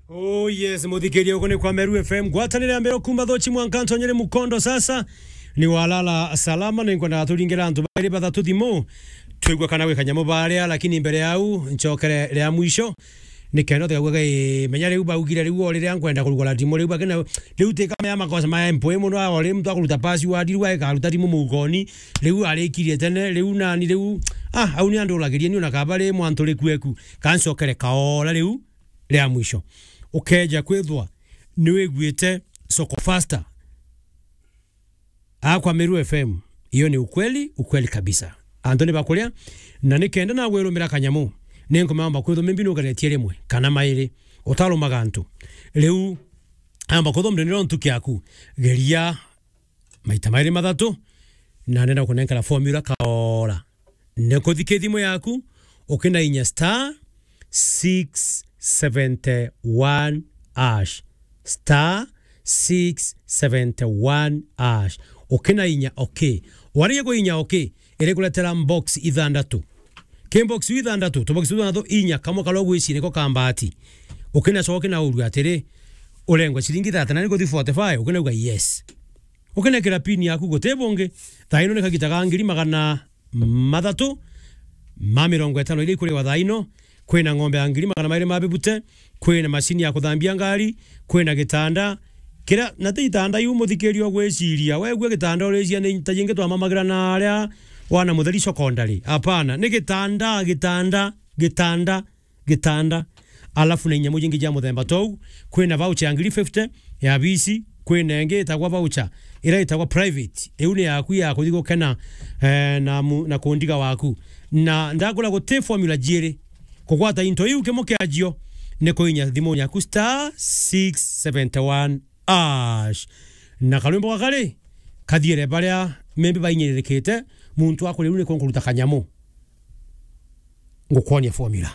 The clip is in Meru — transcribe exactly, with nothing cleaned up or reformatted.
Oh yes, muthikiria, uko ni kwa Meru F M. Ngwatanire ya Meru kuma Thochi mwanka ntonyere Mukondo sasa. Ni walala salama, ni nkwenda turingire antu bairi bathatu thimu. Twigua kana gwi kanyamu baria, lakini mbere yau, ncokere ria mwisho. Ni kenda tukauga, "Gai, menya riu baugire riu o riria nkwenda kurugura thimu riu bakina, riu ti kama ya makosa ma M P muno, o riu muntu akuruta password, riu agikaruta thimu mugoni, riu arikirie tene, riu nani, riu, ah, au ni anduragirie ni ona kaba ri mwantu ri kueku." Kancokere kaora riu ria mwisho. Ukeja kwithwa ni wiguite Soko Faster. Akwa Meru F M, iyo ni ukweli, ukweli kabisa. Antu ni bakuria, na ni kenda na gwirumira kanyamu, ni nkumamba kwithwa mimbi nugeretie rimwe, kana mairi, utarumaga antu. Riu, amba kwithwa mrenero ntuki yaku, geria maita mairi mathatu, na nenda kunenkera formula kaora. Ni kuthiki thimu yaku, ukinainya star six seventy one hash. Star six seventy one hash. Ukinainya okay. Warikia kuinya okay, irikuretera box ithandatu. Ki box ithandatu, tu box ithandatu inya, kamwe karia ugwiciria niko ka mbati. Ukinacoka ukinaurua atiri, urengwe ciringi thirty na nikuthi forty-five, ukinauga yes. Ukinekera pin yaku guti bungi. Thaa ino ni kagita ga ngiri magana mathatu ma mirongo itano iria ikuriwa thaa ino. Kwina ng'ombe ya ngiri magana mairi ma bibute, kwina macini ya kuthambia ngari, kwina gitanda. Kira, na ti itanda iu muthikiria ugwiciria, wegua gitanda uriciria ni ta jingi twamamagira na aria wana Mutheri Secondary. Hapana, ni gitanda, gitanda, gitanda, gitanda. Alafu na inyamu jingi ja muthemba tou, kwina voucher ya ngiri fifty ya bisi, kwina ingi itagwa voucher, ira itagwa private. Iu ni yaku ya kuthi gukena, eh, na mu-, na kundiga waku. Na ndakura guti formula jiiri. Kugwata into iu kimo kiajio ni kuinya thimu yaku star six seventy one hash. Na karwimbo gakari kathiere baria membi bainyiririkite, muntu akuri riu ni kunkuruta kanyamu. Ngukwonia formula.